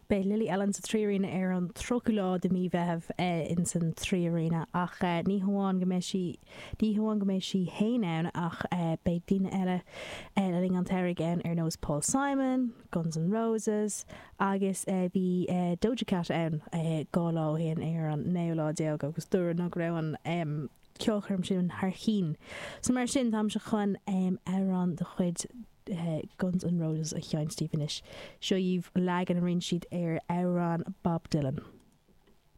Beidh Lily Allen sa 3Arena ar an 30ú lá de mí Mheithimh ins an 3Arena ach ní hamháin go mbeidh sí, ní hamháin go mbeidh sí fhéin ann ach beidh daoine eile le linn an tsamhraidh ann ar nós Paul Simon, Guns N' Roses agus bhí Doja Cat ann 2 lá ó shin ar an naoú lá déag agus dúradh ná go raibh an ceolchoirm sin thar cinn. So mar sin táimse chun amhrán de chuid Guns N' Roses a sheinnt daoibh anois. Seo dhaoibh leagan a rinne siad ar amhrán Bob Dylan.